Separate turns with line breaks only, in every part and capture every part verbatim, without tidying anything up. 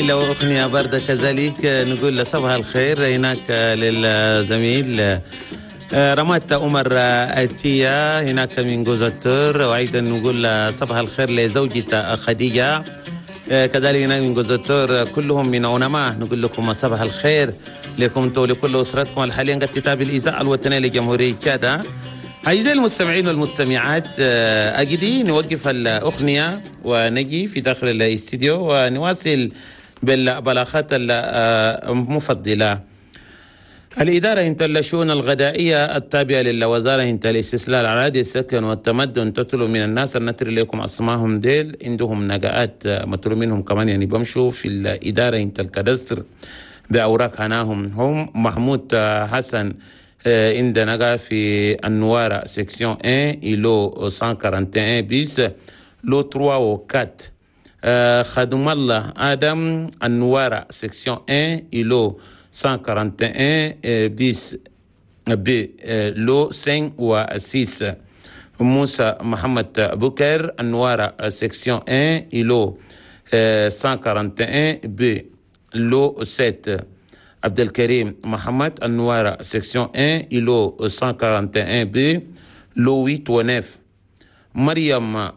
جميلة وأغنية باردة كذلك. نقول صباح الخير هناك للزميل رمات عمر أتية هناك من جوزتور، وأيضا نقول صباح الخير لزوجته خديجة كذلك هناك من جوزتور، كلهم من علماء. نقول لكم صباح الخير لكم ولكل أسرتكم الحاليا قد تتابع الإذاعة الوطنية لجمهورية تشاد. أعزائي المستمعين والمستمعات، أجدي نوقف الأغنية ونجي في داخل الاستديو ونواصل بالبلاغات المفضلة. الإدارة انت الشؤون الغذائية التابعة للوزارة انت الاستسلال الأراضي السكن والتمدن تطلب من الناس أن نتري لكم أسمائهم ديل عندهم نقاءات مطلوب منهم كمان، يعني بمشوا في الإدارة انت الكادستر بأوراق هناهم. هم محمود حسن عند نقا في النوارة section واحد îlot مية وواحد وأربعين bis lot ثلاثة و أربعة. خدم الله آدم النوارة section واحد îlot مية وواحد وأربعين bis B lot خمسة و ستة. موسى محمد بكر النوارة section واحد îlot مية وواحد وأربعين B lot سبعة. عبد الكريم محمد النوارة section واحد îlot مية وواحد وأربعين B lot ثمانية و تسعة. مريم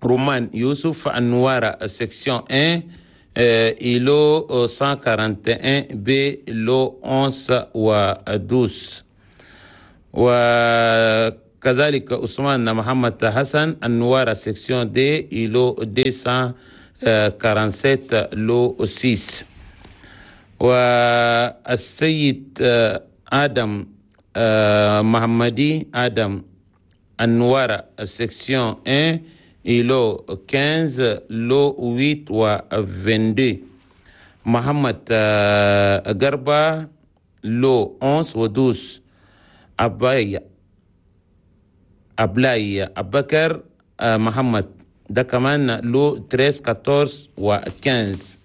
رومان يوسف النوارة section واحد îlot مية وواحد وأربعين B lot إحدى عشر و اثنا عشر. وكذلك عثمان محمد حسن النوارة section deux îlot مئتين وسبعة وأربعين lot ستة. والسيد آدم محمدي آدم النوارة section واحد îlot خمسة عشر lot ثمانية و اثنين وعشرين. محمد غربة lot إحدى عشر و اثنا عشر. أباي أبلاي أبكر محمد ده كمان lot ثلاثة عشر أربعة عشر و خمسة عشر.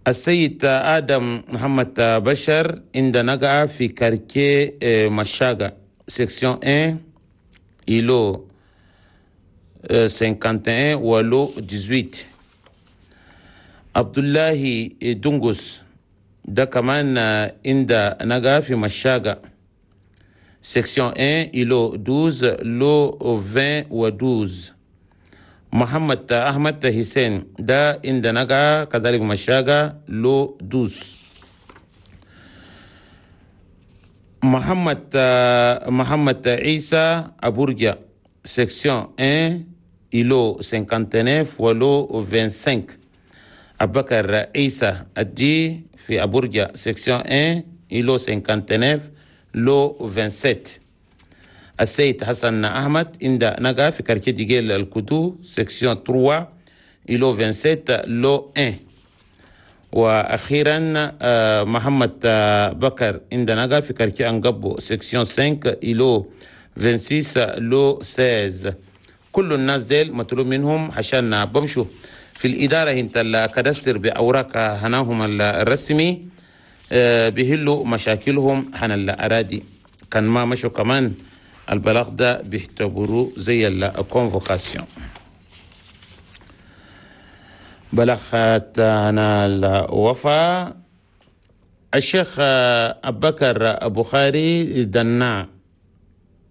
السيد آدم محمد بشر عند نقع في quartier مشاغا section واحد îlot واحد وخمسين و lot ثمانية عشر. عبد الله دونغوس ده كمان عند نقع في مشاغا section واحد îlot اثنا عشر lot عشرين و اثنا عشر. محمد أحمد حسين ده عند نقع كذلك مشاغا lot اثنا عشر. محمد محمد عيسى أبورجا section واحد îlot تسعة وخمسين و lot خمسة وعشرين. أبكر عيسى الدي في أبورجا section واحد îlot خمسة وخمسين lot سبعة وعشرين. السيد حسن أحمد عند نقا في quartier ديجيل الكدو section ثلاثة îlot سبعة وعشرين lot واحد. وأخيرا محمد بكر عند نقا في quartier أنقبو section خمسة îlot ستة وعشرين lot ستة عشر. كل الناس ديل مطلوب منهم عشان بمشوا في الإدارة انت ال cadastre بأوراق هناهم الرسمي بيهلوا مشاكلهم عن الأراضي. كان ما مشوا كمان البلاغ ده بيعتبروه زي ال convocation. بلاغات أنا الوفاة الشيخ أبكر بخاري دنا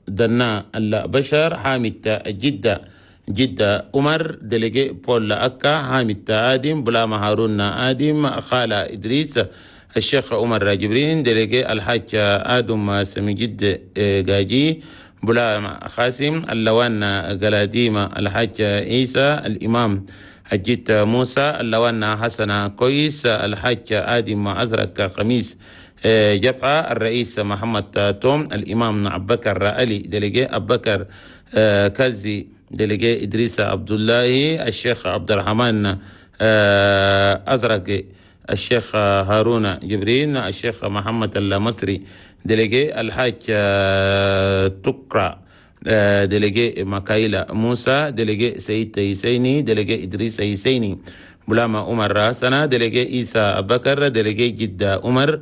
دنا البشر حامد جدة جدة عمر délégué بول أكا حامد آدم بلاما هارون آدم خالة إدريس الشيخ عمر جبرين délégué الحاج آدم سمجد جاجي بلا خاسم اللوان قلاديمة الحاج عيسى الإمام حجيت موسى اللوان حسن كويس الحاج آدم أزرق خميس جبهة الرئيس محمد توم الإمام أبكر علي délégué أبكر كازي délégué إدريس عبد الله الشيخ عبد الرحمن أزرق الشيخ هارون جبرين الشيخ محمد المصري délégué الحاج تقرأ délégué مكايلا موسى délégué سيد حسيني délégué إدريس حسيني بلاما عمر راسنا délégué عيسى بكر délégué جدة عمر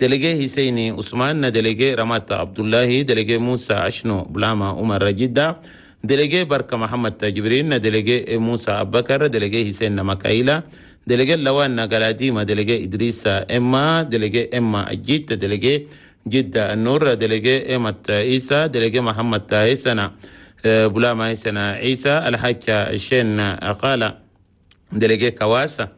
délégué حسيني عثمان délégué رمات عبد الله délégué موسى عشنو بلاما عمر جدة délégué بركة محمد جبرين، délégué موسى أبكر، délégué حسين مكايلة، délégué لوان قلاديمة، délégué إدريس إما، délégué إما الجيت، délégué جدة النور، délégué إمة عيسى، délégué محمد عيسنا بلاما عيسنا عيسى، الحاج الشين قال، délégué كواسة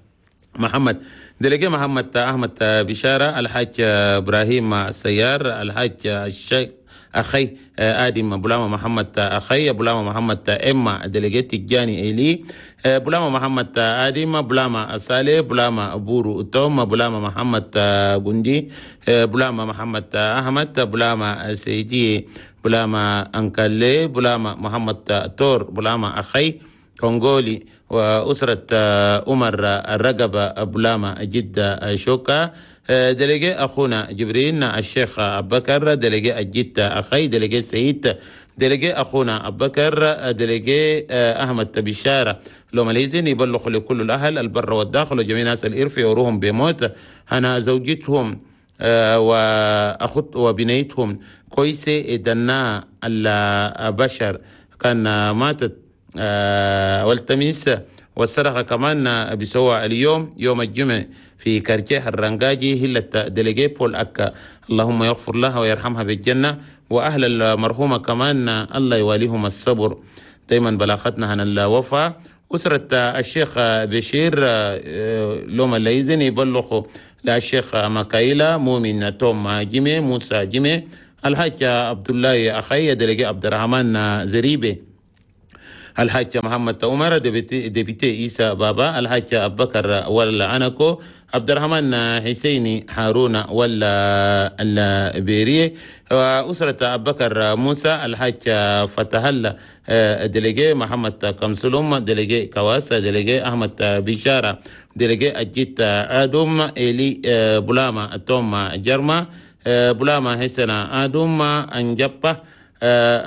محمد، délégué محمد أحمد بشارة، الحاج إبراهيم السيار، الحاج الشيخ أخي آدم بلاما محمد أخي بلاما محمد إما، délégué تجاني إيلي بلاما محمد آدم، بلاما صالح، بلاما بورو توم، بلاما محمد جندي، بلاما محمد أحمد، بلاما سيدي، بلاما أنكالي، بلاما محمد تور، بلاما أخي كونغولي، وأسرة عمر الرقبة، بلاما جدة شوكا، délégué أخونا جبرين الشيخ أبكر، délégué الجدة أخي، délégué سعيد، délégué أخونا أبكر، délégué أحمد بشارة. لو ماليزين يبلغوا لكل الأهل البر والداخل وجميع ناس الإرف يوروهم بموت أنا زوجتهم وأخت وبنيتهم كويسة دنا البشر كان ماتت والتميس. والصدقة كمان بسوى اليوم يوم الجمعة في quartier الرنجاجي هلة délégué بول أكا. اللهم يغفر لها ويرحمها بالجنة، وأهل المرحومة كمان الله يواليهم الصبر. دايما بلاغتنا عن الوفاة. أسرة الشيخ بشير لوم الليزن يبلغوا للشيخ مكايلة مؤمن توم جيمي موسى جيمي الحاج عبد الله أخي délégué عبد الرحمن زريبي الحاج محمد عمر député عيسى بابا الحاج أبو بكر ولا أنكو عبد الرحمن حسيني هارون ولا البيري وأسرة أبو بكر موسى الحاج فتح الله délégué محمد كمسلوم délégué كواس délégué أحمد بشارة délégué أجيت آدم إلي بلاما توم جرما بلاما حسن آدم أنجبة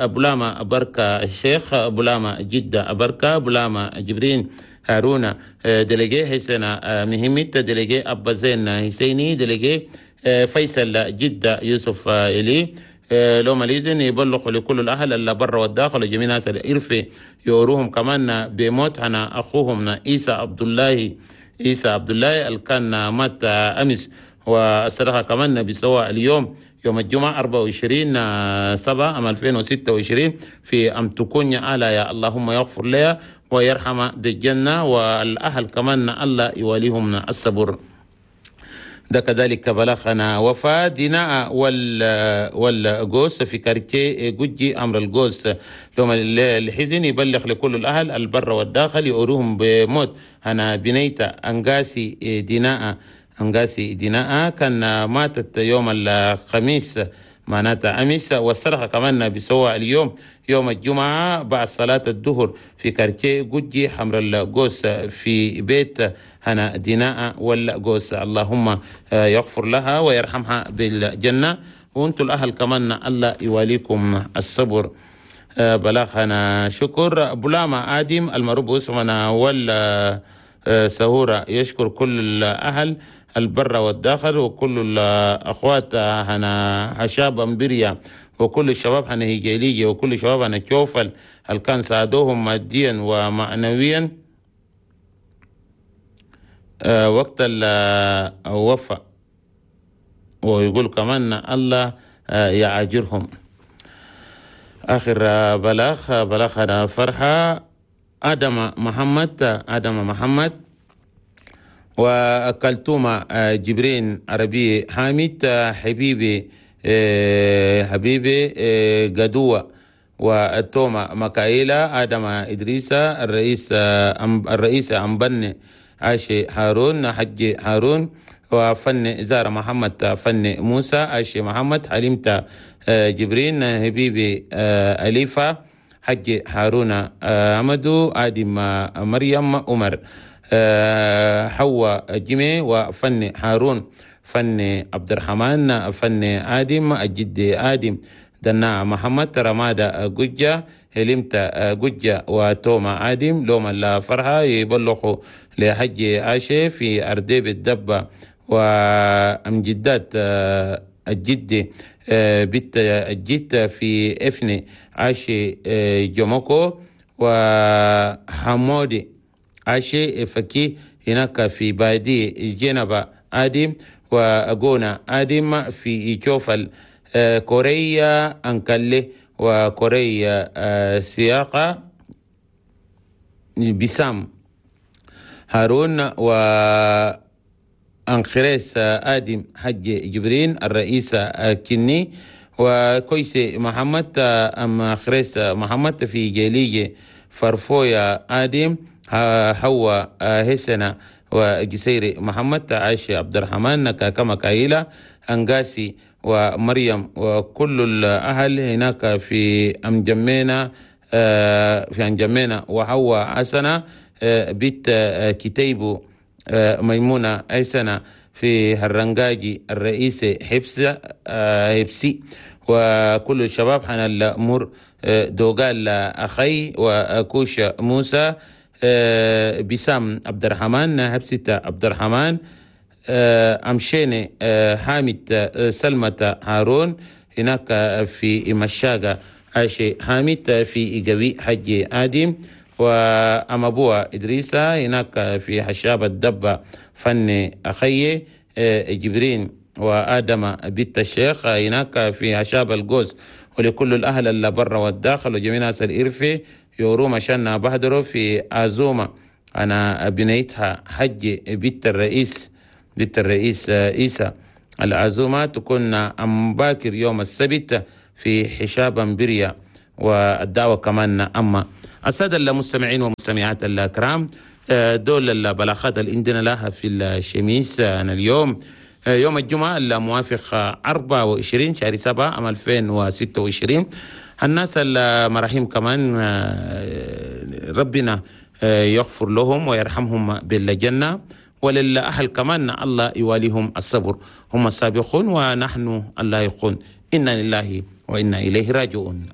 بلاما بركة الشيخ بلاما جدة بركة بلاما جبرين هارون délégué حسن مهمت délégué أبا زين حسيني délégué فيصل جدة يوسف إلي. لو ماليزن يبلغوا لكل الأهل اللي برا والداخل وجميع ناس الإرفة يوروهم كمان بموت أنا أخوهم عيسى عبد الله عيسى عبد الله اللي كان مات أمس. والصدقة كمان بسواء اليوم يوم الجمعة أربعة وعشرين سبعة عام ألفين وستة وعشرين في أم تكون على يا اللهم يغفر لها ويرحم بالجنة، والأهل كمان الله يواليهم الصبر. ده كذلك بلغنا وفاة ديناء وال والجوس في كارتيه جوجي أمر الجوس. لهم الحزن يبلغ لكل الأهل البر والداخل يوروهم بموت أنا بنيتا أنغاسي ديناء أنغاسي ديناء كان ماتت يوم الخميس معناتها أمس. والصرخة كمان بسوى اليوم يوم الجمعة بعد صلاة الظهر في كارتيه جوجي حمر الجوس في بيت هنا ديناء والجوس. اللهم يغفر لها ويرحمها بالجنة، وانتم الأهل كمان الله يواليكم الصبر. بلاغنا شكر بلاما آدم المربو اسمنا وال سهورة يشكر كل الأهل البر والداخل وكل الأخوات هنا هشاب أمبريا وكل الشباب هنا هيجيلية وكل الشباب هنا كوفل هل كان ساعدوهم ماديا ومعنويا وقت الوفاة، ويقول كمان الله يعاجرهم. آخر بلاغ بلاغنا فرحة آدم محمد آدم محمد وكلتومة جبرين عربي حامد حبيبي حبيبي قدوة والتومة مكايلة آدم إدريسة الرئيس الرئيس أمبن عاشي هارون حج هارون وفن زار محمد فن موسى عاشي محمد حليمة جبرين حبيبي أليفة حج هارون أمدو آدم مريم عمر حواء جيمي وفن هارون فن عبد الرحمن فن آدم الجد آدم دنا محمد رمادة ججة هلمت ججة وتوما آدم لوم الفرحة يبلغوا لحج عاشي في أرديب الدبة وأمجدات الجد بيت الجد في افني عاشي جوموكو وحمودي عاشي فكي هناك في بادي جنبا آدم وأغونا آدم في جوفل كوريا أنكالي وكوريا سياقة بسام هارون و أنخريس آدم حج جبرين الرئيس كني وكويس محمد أم خريس محمد في جيليجي فرفويا آدم حوا هسنا وجسيري محمد عائشة عبد الرحمن كما كايلة أنغاسي ومريم وكل الأهل هناك في أمجمينا في أنجمينا وحوا حسنة بيت كتيبو ميمونة عيسنا في هرنجاجي الرئيس حبس حبسي وكل الشباب حنا الأمور دوغال أخي وكوش موسى بسام عبد الرحمن حبسيتا عبد الرحمن أمشيني حامد سلمة هارون هناك في مشاقة عاشي حامد في إيجوي حج آدم وأم أبوها إدريسة هناك في حشاب الدبة فن أخي جبرين وآدم بنت الشيخ هناك في حشاب الجوز ولكل الأهل اللي برا والداخل وجميع ناس الإرفي يورو مشان بهدروا في أزومة أنا بنيتها حج بنت الرئيس بنت الرئيس إيسى العزومة تكون أم باكر يوم السبت في حشاب بريا والدعوة كمان أما السادة المستمعين والمستمعات الكرام دول البلاغات اللي عندنا لها في الشميس أنا اليوم يوم الجمعة الموافق أربعة وعشرين شهر سبعة عام ألفين وستة وعشرين. الناس المراحيم كمان ربنا يغفر لهم ويرحمهم بالجنة، وللأهل كمان الله يواليهم الصبر، هم السابقون ونحن الله يقول إنا لله وإنا إليه راجعون.